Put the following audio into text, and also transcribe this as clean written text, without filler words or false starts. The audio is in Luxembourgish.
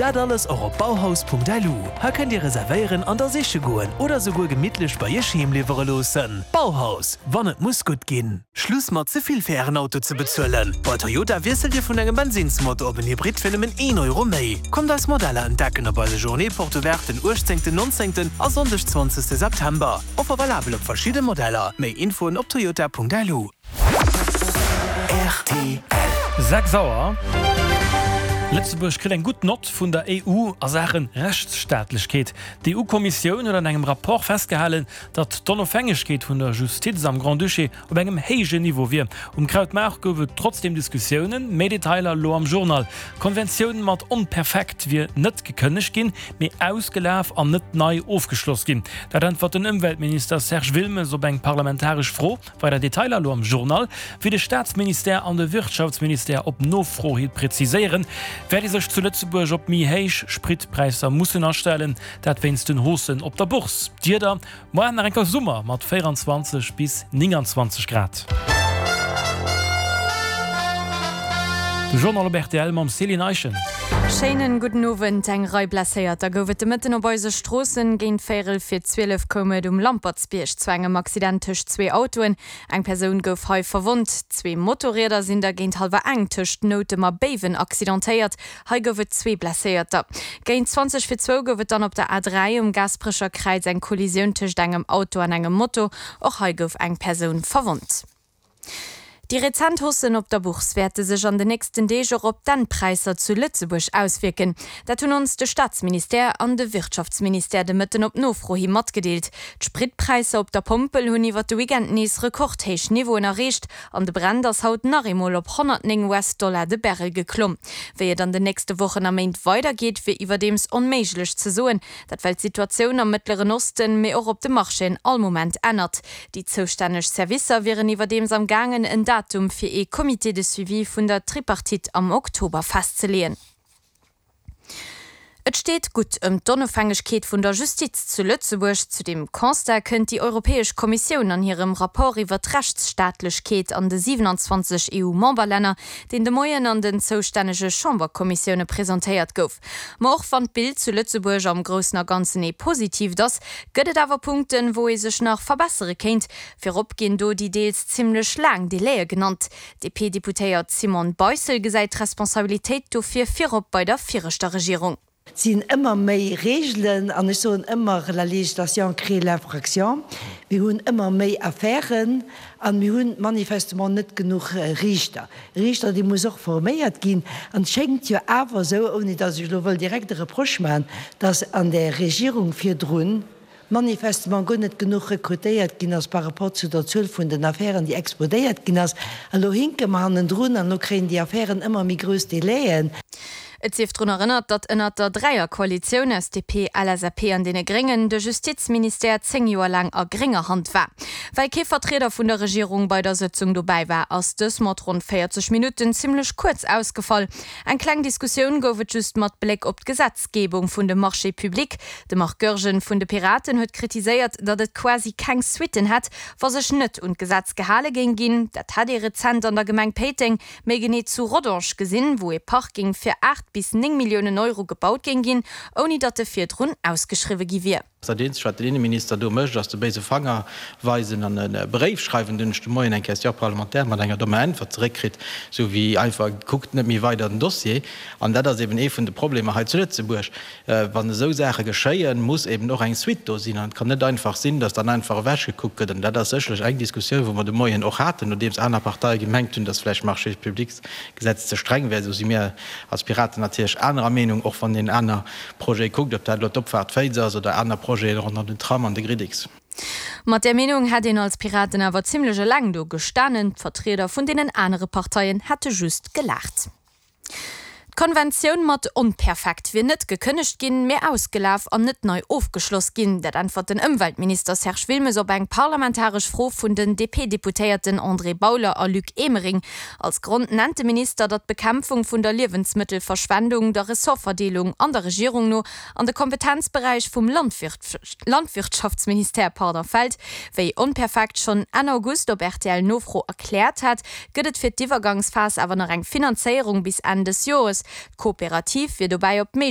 Dat alles och op bauhaus.lu. Hei kënnt Dir reservéieren an da siche goen oder souguer gemittlech bei Iech heem liwwere loossen. Bauhaus, wann et muss gutt ginn. Schluss mat ze vill fir Ären Auto ze bezuelen! Bei Toyota wiesselt Dir vun engem Bensinnsmotor op en Hybrid fir nëmmen een Euro méi. Kommt eis Modeller entdecken op eise Journée Porte Ouverte den 18, 19 a Sonndeg 20 September. Offer valabel op verschidde Modeller. Méi Infoen op toyota.lu. Rtl. 6 Auer, Lëtzebuerg kritt eng gutt Nott vun der EU a Saache Rechtsstaatlechkeet. D'EU-Kommissioun huet an engem Rapport festgehalen, datt d'Onofhängegkeet vun der Justiz am Grand-Duché op engem héijen Niveau wier. Um Krautmaart gouf et trotzdeem Diskussiounen. Méi Detailer elo am Journal. D'Konventioun mat Onperfekt wier net gekënnegt ginn, mee ausgelaf an net nei ofgeschloss ginn. Dat äntwert den Ëmweltminister Serge Wilmes op eng parlamentaresch Fro. Weider Detailer elo am Journal. Wéi de Staatsministère an de Wirtschaftsministère op Nofro hi präziséieren, wäert ee sech zu Lëtzebuerg op méi héich Spritpräisser mussen astellen. Dat wéinst den Haussen op der Bourse. D'Wieder, Moar nach enker Summer mat 24 bis 29 Grad. De Journal op rtl mam Céline Eischen. Schéinen gudden Owend. Eng Rei Blesséierter gouf et de Mëtten op eise Stroossen. Géint véierel vir 12 koum et um Lampertsbierg zu engem Accident tëscht zwee Autoen. Eng Persoun gouf hei verwonnt. Zwee Motorrieder sinn da géint hallwer eng tëscht Noutem a Béiwen accidentéiert. Hei gouf et zwee Blesséierter. Géint 20 vir zwou gouf et dann op der A3 um Gaasperecher Kräiz eng Kollisioun tëscht engem Auto an engem Moto. Och hei gouf eng Persoun verwonnt. Déi rezent Haussen op der Bourse wäerte sech an den nächsten Deeg och op d'Endpräisser zu Lëtzebuerg auswierken. Dat hunn ons de Staatsministère an de Wirtschaftsministère de Mëtten op Nofro hi matgedeelt. D'Spritpräisser op der Pompel hunn iwwer de Weekend nees rekordhéich Niveauen erreecht. An de Brent ass haut nach eemol op 109 US-Dollar de Barrel geklomm. Wéi et an den nächste Wochen a Méint weidergeet, wier iwwerdeems onméiglech ze soen. Dat well d'Situatioun am Mëttleren Osten, mee och op de Marchéen all Moment ännert. Déi zoustänneg Servicer wieren iwwerdeems am gaangen, en Datum fir ee Comité de suivi vun der Tripartite am Oktober festzeleeën. Et steet gutt ëm d'Onofhängegkeet vun der Justiz zu Lëtzebuerg. Zu deem Constat kënnt déi Europäesch Kommissioun an hirem Rapport iwwer d'Rechtsstaatlechkeet an de 27 EU-Memberlänner, deen de Moien an den zoustännege Chamberkommissioune presentéiert gouf. Ma och wann d'Bild zu Lëtzebuerg am Groussen a Ganzen ee positiivt ass, gëtt et awer Punkten, wou ee sech nach verbessere kéint. Virop ginn do déi deels zimmlech laang Delaie genannt. D'DP-Deputéiert Simone Beissel gesäit d'Responsabilitéit dofir virop bei der viregter Regierung. Et sinn ëmmer méi Reegelen, an ech soen ëmmer, la législation crée l'infraction. Mir hunn ëmmer méi Affären a mir hunn manifestement net genuch Riichter. E Riichter, dee muss och forméiert ginn. An et schéngt jo awer esou, ouni datt ech elo wëll direkt e Reproche maachen, datt an där Regierung virdrun, manifestement guer net genuch rekrutéiert ginn ass par rapport zu der Zuel vun den Affären, déi explodéiert ginn ass. An elo hinke mer hannendrun an elo kréien déi Affären ëmmer méi grouss Délaiën. Et sief drun erënnert, datt ënnert der Dräierkoalitioun aus DP, LSAP an deene Gréngen de Justizministère 10 Joer laang a grénger Hand war. Well kee Vertrieder vun der Regierung bei der Sëtzung dobäi war, ass dës mat ronn 40 Minutten zimmlech kuerz ausgefall. Eng kleng Diskussioun gouf et just mat Bléck op d'Gesetzgebung vun de Marchés publics. De Marc Goergen vun de Piraten huet kritiséiert, datt et quasi keng Suitten hätt, wa sech net un d'Gesetz gehale géing ginn. Dat hätt ee rezent an der Gemeng Péiteng, méi genee zu Rodange gesinn, wou ee Parking fir 8 bis 9 Milliounen Euro gebaut géing ginn, ouni datt e virdrun ausgeschriwwe gi wier. Dat eenzegt, wat den Inneminister do mécht, ass de béise Fanger weisen an e Bréif schreiwen. Dunn hunn ech de Moien eng Question parlementaire mat enger dommer Äntwert zeréckkritt, esou wéi einfach, Kuckt net méi weider den Dossier. An dat ass eben ee vun de Problemer hei zu Lëtzebuerg. Wann esou Saache geschéien, muss eben och eng Suite do sinn. An et kann net einfach sinn, dass dann einfach ewechgekuckt gëtt. An dat ass sécherlech eng Diskussioun, wou mer de Moien och haten, nodeems aner Parteie gemengt hunn, dass vläicht d'Marchés-publics-Gesetz ze streng wär. Esou si mir als Piraten natierlech anerer Meenung, och wann een aner Projete kuckt, ob dat elo d'Opfaart Féiz ass oder aner Projeten ronderëm den Tram an de Gridix. Mat där Meenung hätt een als Piraten awer zimmlech eleng do gestanen. D'Vertrieder vun deenen anere Parteien hätte just gelaacht. D'Konventioun mat Onperfekt wier net gekënnegt ginn, mee ausgelaf an net nei ofgeschloss ginn. Dat äntwert den Ëmweltminister Serge Wilmes op eng parlamentaresch Fro vun den DP-Deputéierten André Bauler a Luc Emering. Als Grond nennt de Minister, datt d'Bekämpfung vun der Liewensmëttelverschwendung der Ressortverdeelung an der Regierung no an de Kompetenzberäich vum Landwirtschaftsministère fält. Wéi Onperfekt schonn Enn August op RTL-Nofro erkläert hat, gëtt et fir d'Iwwergangsphas awer nach eng Finanzéierung bis Enn des Jores. D'Kooperativ wier dobäi op d'Méiglechkeet.